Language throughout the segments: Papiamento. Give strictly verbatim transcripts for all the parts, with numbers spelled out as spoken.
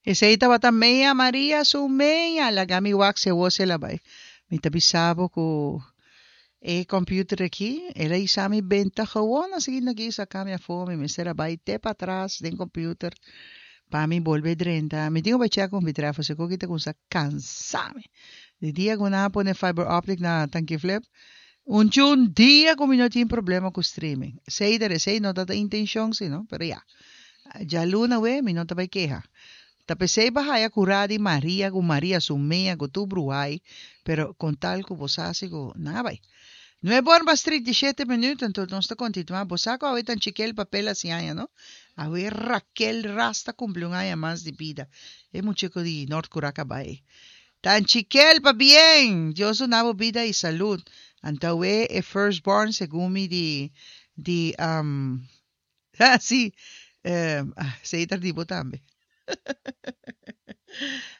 Esei tabata Mea Maria su mea, laga mi wak si awor el a bai. Mi ta bisa bo ku e computer aki, el a hisa mi benta gewoon asina aki saka mi afó, mi mester a bai te patras den computer pa mi bolbe drenta. Mi tin ku bai check ku mi trèf, pasobra ku ta kuminsá kansa mi. Di dia ku nan a pone fiber optic na Tanki Flip, un un dia ku mi no tin problema ku streaming. Esei ta esei no ta intenshon si no, pero ya. Djaluna we mi no ta bai keha. Ta p'esei bo a haya kurá di Maria ku Maria su mea ku tur bruhai, pero kon tal ku bo sa si ku nan a bai. Nuebe or mas trinta i shete minüt, anto nos ta kontinuá. Bo sa ku awe tan chikel papel hasi aña, no? Awe Raquel Ras ta kumpli un aña mas di bida. E mucheko di Nort Kuraka bai. Tan chikel pabien! Dios duna bo bida i salud. Anto awe e first born segun mi di di um ah si eh, ah, sei ta di bo tambe.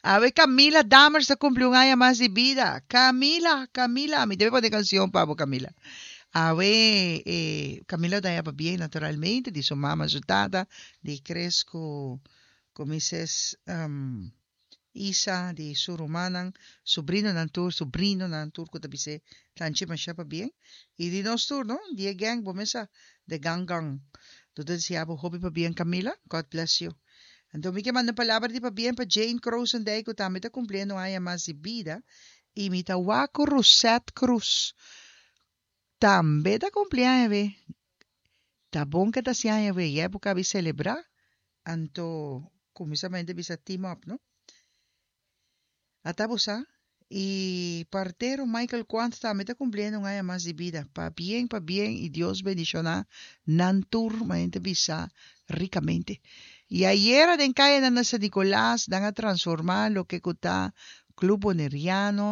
Awe Camila Dammers ta kumpli un aña mas di bida. Camila, Camila, mi debe pone kanshon pa bo, Camila. Awe eh, Camila ta haña pabien naturalmente di su mama, su tata, di Chris ku ku Missus Um, Isa, di su rumannan, subrinonan tur, subrinonan tur ku ta bis'é tanchi masha pabien. I di nos tur, no? Di e gang, bo mes sa, the gang gang. Tur ta deseá bo hopi pabien, Camila. God bless you. Anto mi ke manda un palabra di pabien pa Jane Krosendijk ku tambe ta kumpliendo un aña mas di bida. I mi ta wak ku Rosette Cruz tambe ta kumpli aña be. Ta bon ke ta hasi aña be, i époka a bin selebrá. Anto kuminsamente bisa team up, no? Ata bo sa. I partero Michael Quant tambe ta kumpliendo un aña mas di bida. Pabien, pabien i Dios bendishoná nan tur, manera ta bisa rikamente. I ayera den kayanan na San Nicolas nan a transformá loke ku ta Club Boneriano.